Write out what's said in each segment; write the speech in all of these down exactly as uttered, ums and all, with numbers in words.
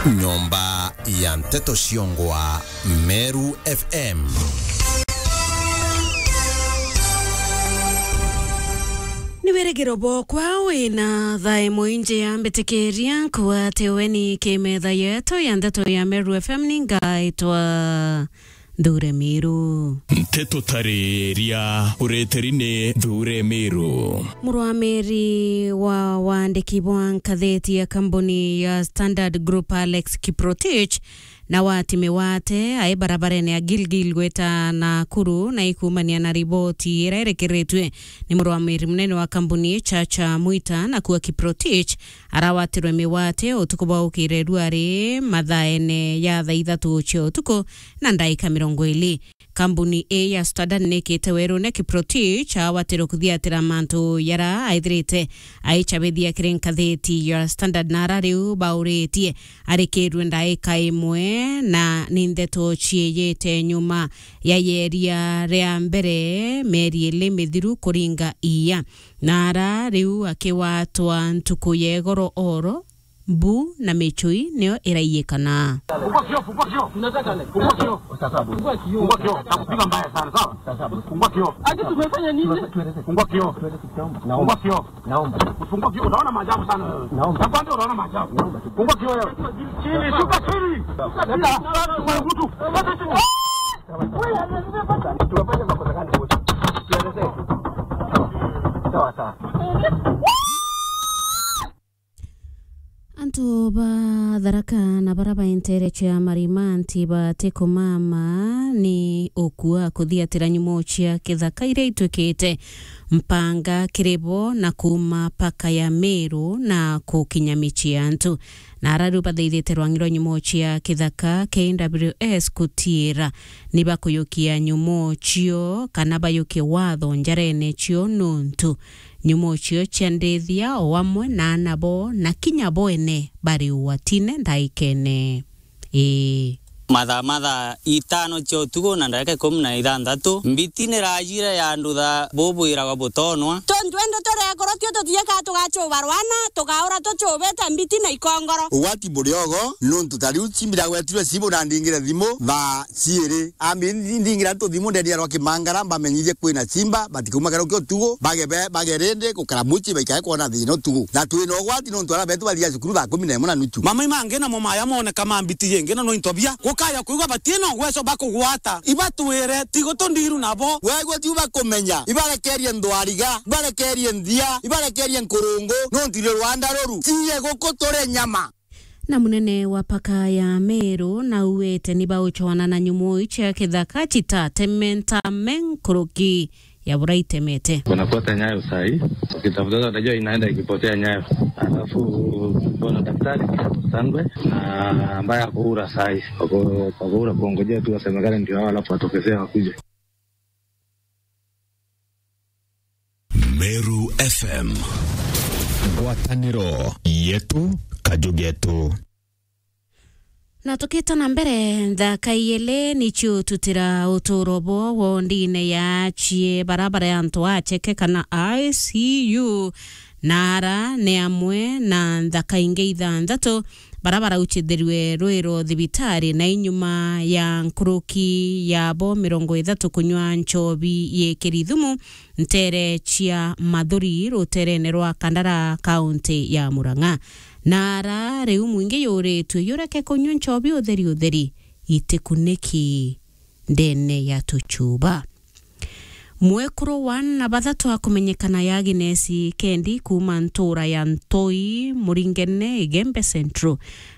Nyomba ya nteto ciongwa Meru F M. Ni wirigiro bwokwa wina thaa imwe inji ya mbitikiria nkuatiwe ni kimetha yetu ya nteto ya Meru F M, ni ngaitwa Nthure Miru. Nteto tariria ureteri ni Nthure Miru. Murwamiri wa wandiki bwa nkatheti ya kambuni ya Standard Group, Alex Kiprotich, na wati miwate ai barabarene ya Gilgil gwita Nakuru, na ikumania na riboti ira irekeretwe ni murwamiri munene wa kambuni Chacha Mwita, na kuwa Kiprotich arawatirwe miwate utuku bwa ukire ruari mathaene ya thaa ithatu cia utuku na ndaika mirongo iri. Kambuni ii ya Standard nikite werune Kiprotich awatirwe kuthiatira mantu yara aithirite aicabithia kiri nkatheti ya Standard, na ara riu bauritie arikirwe ndaika imwe na ni ndeto ciiyite nyuma ya yeria ria mbere mieri iri mithiru kuringa iya. Na ara riu akiwatwa ntuku ya igoro oro, mbu na michui niyo iraiyikana. Fungua kioo, fungua kioo. Tunataka nini? Fungua kioo. Fungua kioo. Fungua kioo. Takupiga mbaya sana, sawa? Fungua kioo. Ati tumefanya nini? Fungua kioo. Naomba. Fungua kioo. Naomba. Fungua kioo. Unaona maajabu sana wewe. Naomba. Nakwambia unaona maajabu. Naomba. Fungua kioo wewe. Chini, shuka chini. Leta. Wewe mtu. Leta chini. Tunafanya makosa gani wote? Tuelezee tu. Sawa, sawa. Antu ba Tharaka na bara baentere cia Marimanti batikumama ni ukua kuthiatira nyumo cia kithaka iria itwikite mpanga kiri bo na kuuma paka ya Meru na kukinya micii ya antu. Na ara riu bathaithite rwang'i rwa nyumo cia kithaka K W S kutiira ni bakuyukia nyumo cio kana bayukie watho njarene cio nuntu nyumo cio cia ndithia o amwe na aana bo na kinya bo ene bari ugwatine ndaikene. Ii. Mathaa, mathaa itano cia utuku na ndagika ikumi na ithanthatu, mbiti ni rajire ya ndutha bubwiragwa butonwa. Tontu indi turekorwo tio tutiika tugacuba rwana, tukaura tucubite mbiti na ikongoro. Ugwati buri ogo, nuntu ta riu cimbira gwetirwe cibu na ndingire thimu thaa ciiri. Ambi ndingira antu thimu ndenia rwa Kimangara, mbamenyithie kwina cimba, batikauma karuki utuku, bage be-, bage rindi gukara mucii baikae kwona thina utuku. Na twina ugwati nuntu ara betu bathia cukuru thaa kumi na imwe na nuchu. Mamai mangi namo maya moneka ma mbiti yingi na no into bia. Gukaya kwigua batina ugweco bakugwata. Ibatwire, tigo tundiru nabo. Wegua tiu bakumenya. Ibarekerie ndwariga, ibarekerie nthia, ibarekerie nkurungu, nuntu iri rwanda ruru. Ciye guku turie nyama. Na munene wa paka ya Meru nauwete ni bauchwana na nyumo iu cia kithaka chitatementa me nkuruki ya bura itemete. Wanafuata nyayo sahi, wakitafuta, unajua inaenda ikipotea nyayo. Alafu bwana daktari Sangwe na ambaye ako ura sahi, wako, wako ura kuongojea tu wasemekane ndio hao, alafu watokezea wakuje. Meru F M. Ngwataniro yetu, kaju getu. Na tukita na mbere, nthaka iele nicio tutira uturo bo wondine ya achie barabara ya antu acheke kana I C U, na ara ni amwe na nthaka ingi ithanthatu bara barauchithirwe rwiro thibitari, na inyuma ya nkuruki yabo mirongo ithatu kunywa nchobi yikiri thumu ntere cia Mathuri ruterene rwa Kandara, kaunti ya Murang'a. Na ara riu mwingi yuritue yureke kunywa nchobi utheri utheri, itikuniki ndene ya tuchuba. Mwekuru wa aana bathatu akumenyekana ya Agnes Kendi kuuma ntura ya Ntoi, Muringene, Igembe Central,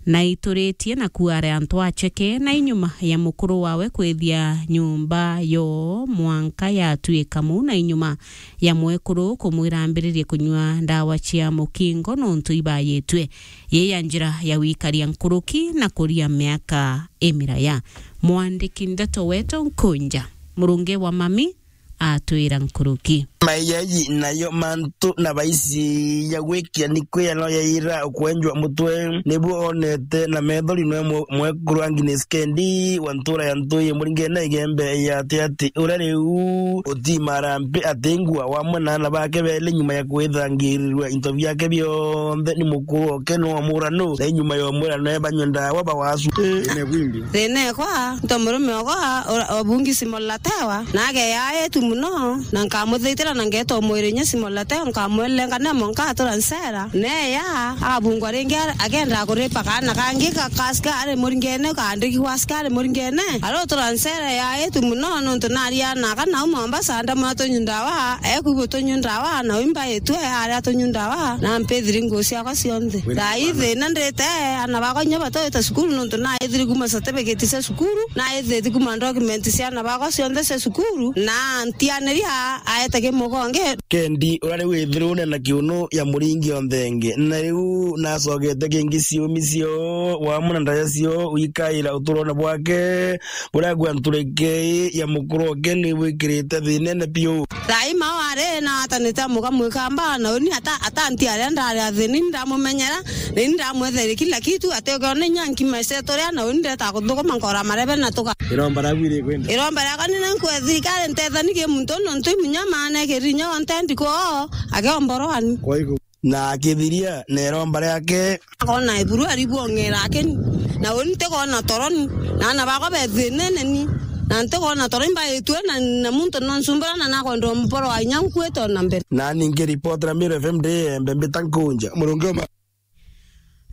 na ituritie na kuare antu acheke, na inyuma ya mukuru wawe kwithia nyumba yo mwanka yatuika muu, na inyuma ya mwekuru kumwira ambiririe kunywa ndawa cia mukingo nontu ibayitwe yi ya njira ya wikaria nkuruki na kuria miaka imiraya. Mwandiki ndeto wetu Nkunja Murungi wa Mami atwira nkuruki. Maiyaji nayo mantu na baisi ya gwikia ni kwiyano yaira ukwenjwa mutwe, nibuo onete na methori nwe mwe-, mwekuru Agnes Kendi wa ntura ya Ntui Muringene Igembe ya Atiati, uria riu utimara mpi atingua wamwe na ana bake beli nyuma ya kwithangirirwa into biake bionthe ni mukuru oke no murano, na inyuma ya murano ebanywe ndawa bawasu. Ine bwimbi. Thina ekwa, nto murume okwa, ora-, obungi simolatewa, nage yaetu muno, na nkamuthitira na ngeta mwiri inya simolatewa, nkamwelenga nemo nkatura nsera, neya, agabungwa ringi ar-, agenda kuripa kaana kangi ka, ka askari Muringene, kaandiki gwa askari Muringene, arotura nsera yaetu muno, nontu naria na kana uma Mombasa, ndamwa tunywa ndawa, ekwigua tunywa ndawa, na wimba itwe, aria tunywa ndawa, na mpithiri nguo ciakwa cionthe. Thaa ii thina ndite, ana bakwa inya batwite cukuru, nontu naithiri kuma certificate cia cukuru, naithiti kuma document cia ana bakwa cionthe cia cukuru, na ntianiria aete kimugonge. Kendi, uria riu withirune na kiunu ya muringi onthe ingi, na riu nacogete kingi ciumi cio, wamwe na ndaja cio, wikaira uturone bwake, buria gwa ntureke ya mukuru oke ni bwikirite thinene biu. Thaa ii mao ari na atanite amuka mwikamba, na uni ata-, atanti aria ndari athini, ndamumenyera, na ini ndamwethere kila kitu, ati ukiona inya nkima iceto ria, na uni ndeta kuthukuma nkora marebe na tuka. Iromba riaku iri kwenda? Iromba riakwa ni na nkwe thirikari ntethani ki muntu nontu imunya maana kirinya onte ndiko, akeomborwani. Kwa iko. Na akithiria na iromba riake. Akona iburu aribwong'era akeni. Na uni ntikona toroni. Na ana bakwa bethinene ni. Na ntikona toroni mbaitwe na, na muntu nonsumbura na nakwenda mporo wa inya nkwite ona mbere. Na ningi ripoti ra Meru F M ndi embe mbita nkunja. Murungi uma.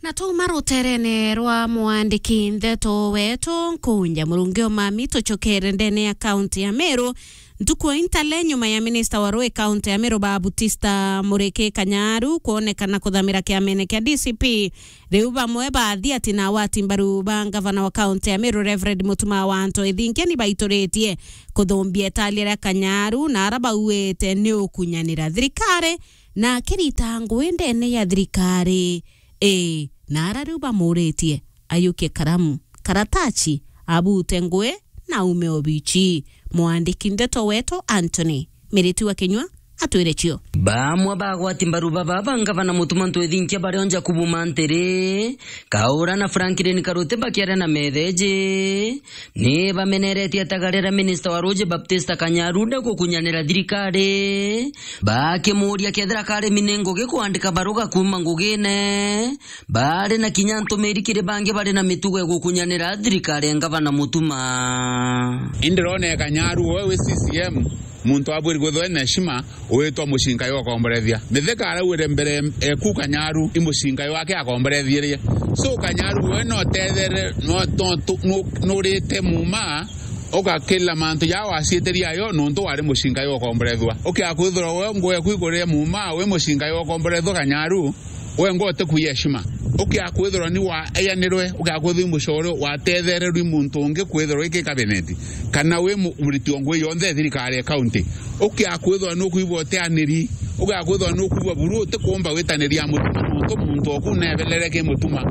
Na twauma ruterene rwa mwandiki ndeto wetu nkunja Murungi Omami, tucokere ndene ya kaunti ya Meru. Ntuku ya intale, nyuma ya minista wa rui kaunti ya Meru Baptista Muriki Kanyaru kwonekana kuthamira kiamene kia D C P, riu bamwe bathi ati na awati mbaru ba ngavana wa kaunti ya Meru Reverend Mutuma wa Anto Ithinkia ni baituritie kuthumbia italia ria Kanyaru, na ara bauite ni ukunyanira thirikari na akirita ngui ndene ya thirikari. Ii, na ara riu bamuritie ayukie karamu, karataci, abute ngui na aume obici. Mwandiki ndeto wetu Anthony Miriti wa Kinyua atwire cio. Bamwe bagwati mbaru baba ba ngavana Mutuma Anto Ithinkia bario Jakubu Mantiri, Kaura na Franklin Karuti bakiaria na metheji, ni bameneretie atagare ra minista wa ruji Baptista Kanyaru nde gukunyanira thirikari, bakimuria kethira kari mine ngugi kwandika baruga kuuma ngugine, bari na kinya ntumiri kiri bangi bari na mitugo ya gukunyanira thirikari ya ngavana Mutuma. Indi rone Kanyaru, we wi C C M, muntu abwiri kwithwa ena heshima, witwa mucinga yo komborethia. Mithika araugire mbere eku Kanyaru, i mucinga yo ake akomborethirie. So Kanyaru we no tethere, no, no, no, nurite muma, ugakila mantu ja waciitirie ayo, nontu wari mucinga yo komborethwa. Ukia kwithirwa we ngwe kwigurire muma, wi mucinga yo komborethwa Kanyaru, we ngwe utikui heshima. Ukia kwithirwa ni wa eyanirwe, ukia kwithirwa i mucore watethererwi muntu ungi kwithirwa iki cabinet, kana wi mu-, muriti o ngui yonthe ya thirikari ya county. Ukia kwithirwa nukwigua utianiri, ukia kwithirwa nukwigua buru utikumba witaniria Mutuma nontu muntu oku nebelere ki Mutuma.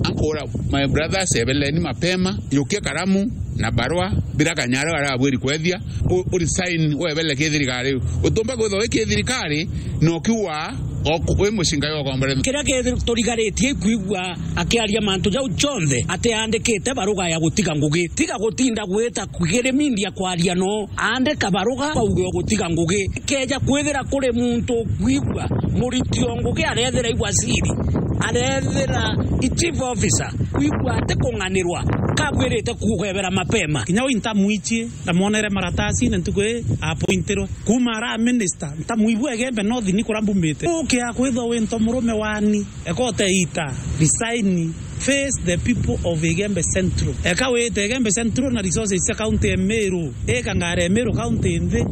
Ankora, my brothers, ebeleni mapema, yukia karamu na barua, bira Kanyaru arabwiri kwethia, u-, u resign webele ki thirikari. Utumba kwithirwa wi ki thirikari, na ukiuga oku-, wi mucinga yo komborethwa. Kiria giturigaritie ikwigua akiaria mantu jau jonthe atiandikite baruga ya gutiga ngugi. Tiga gutinda gwita kiri media kwaria no, andika baruga bauge o gutiga ngugi. Keja kwithira kuri muntu ukwigua muriti o ngugi arethira i waziri, arethira i chief officer, kwigua ati kung'anirwa, kabwirite kugebera mapema. Kinya uu ntamwichie, ndamwonere maratasi-ini ntuku ii appointirwe. Kuuma ara minister, ntamwigua Igembe North ni kuria mbumite. Ukia kwithwa wi nto murume wani, ekote ita, resign, face the people of Igembe Central. Eka wite Igembe Central na resources cia county ya Meru, ika ngari ya Meru county nthi,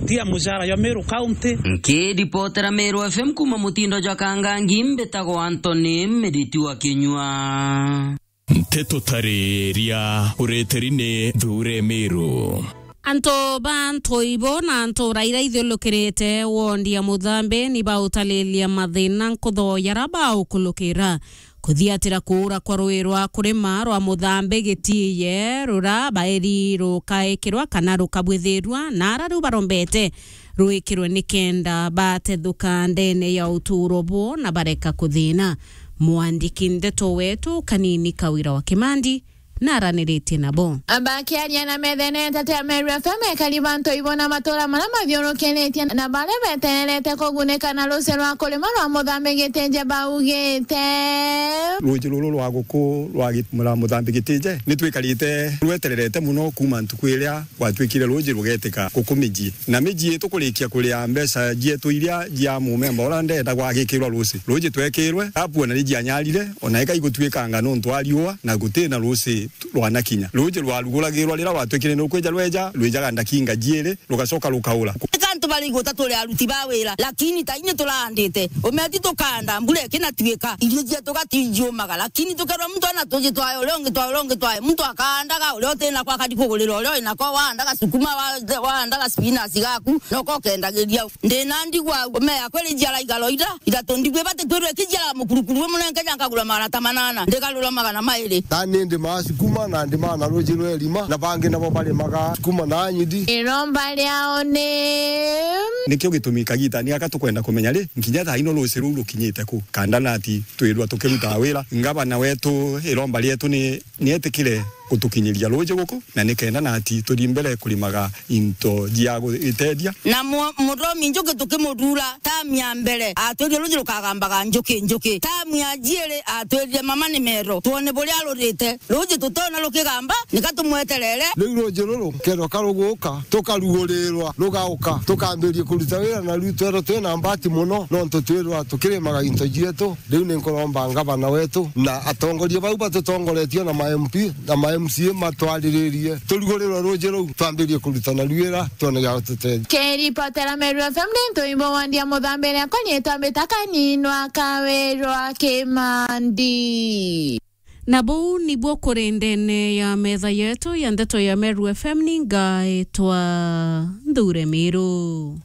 tia mucara jwa Meru county. Nkiripotera Meru F M kuuma mutindo jwa Kangangi, mbitagwa Anthony Miriti wa Kinyua. Nteto tariria ureteri ni Thure Meru. Antu ba Ntoibo na ntura iria ithiurukirite wondi ya Muthambi ni bautariria mathina nkutho jaria baukulukira. Kuthiatira kuura kwa rui rwa kurima rwa Muthambi gitiiye, ruria baeri rukaikirwa kana rukabwithirua, na ara riu barombete rwikirwe nikenda batethuka ndene ya utuuro bwoo na bareka kuthina. Mwandiki ndeto wetu Kanini Kawira wa Kimandi naraniritie nabo. Bakiaria na methene nteto ya Meru F M, ekari ba Ntoibo na matura maria mathiurukiritie na baria betererete kugunika na ruuji rwa kurima rwa Muthambi Gitije baugite, ruuji ruru rwa guku rwa Gi-, mura Muthambi Gitije ni twikarite rwetererete muno kuuma ntuku iria gwatuikire ruuji rugetika guku mijii. Na mijii tukurikia kuria mbeca cietu iria cia mumemba uria ndenda gwagikirwa ruuji. Ruuji twekirwe, tapu ona ni jianyarire, ona ika igutuikanga nontu wa riua, na guti na ruuji rwanakinya. Ruuji rwaruguragirwa riria rwatuikire ni rukwija rweja, rwijaga ndakinga jiiri, rugacoka rukaura. Eka antu bari igweta turi aruti ba wira, lakini ta inye turaandite, umeti tukaanda, mbura ikinatuika, irio cietu gatijiumaga, lakini tukerwa muntu ana tuji twae, uria ungi twae, uria ungi twae, muntu akaandaga, uria uti nako akari kugurira uria wi nako, waandaga sukuma, wa-, waandaga spinach gaku, noko ukendagiria. Ndi na ndigwa au, ume yakwa iri jiara igaro ira, ithatu ndigwa ibati kwirwa ikijiara mukurukuru umwe, nonke ja nkagura magana ta manana, ndigarura magana mairi. Tani ndimaa sukuma na ndimaa na ruuji rwa irima, na bangi nabo barimaga sukuma na nyidi. Iromba riao ni. Nikio gitumi kagita ni gaka tukwenda kumenya ri, nkinya thaa ino ruuji ruu rukinyite ku? Kanda nati twirwa tukiruta wira, ngavana wetu, iromba rietu ni, ni etikire gutukinyiria ruuji guku, na nikenda nati tuthii mbere kurimaga into cia guiteethia. Na mu-, muthomi njuki tukimuthuura, tamu ya mbere atwirire ruuji rukagambaga njuki, njuki. Tamu ya jiiri atwirire mama ni mero, twone buria rurite. Ruuji tutona rukigamba, nika tumweterere. Riu ruuji ruru kethwa ka ruguka, tukarugurirwa, rugauka, tukambirie kuruta wira, na riu twerwa twina mbati muno, nontu twirwa tukirimaga into cietu. Riu ni nkuromba ngavana wetu na atongoria bau batutongoretie na ma M P na ma M C A matwariririe, turugurirwe ruuji ruu, twambirie kuruta naru wira, twone gia gututethia. Kiripotera Meru F M ni Ntoibo wa Ndia Muthambi, riakwa riitwa mbita Kaninwa Kawirwa Kimandi. Na buu nibuo kuri ndene ya metha yetu ya ndeto ya Meru F M, ni ngaitwa Nthure Miru.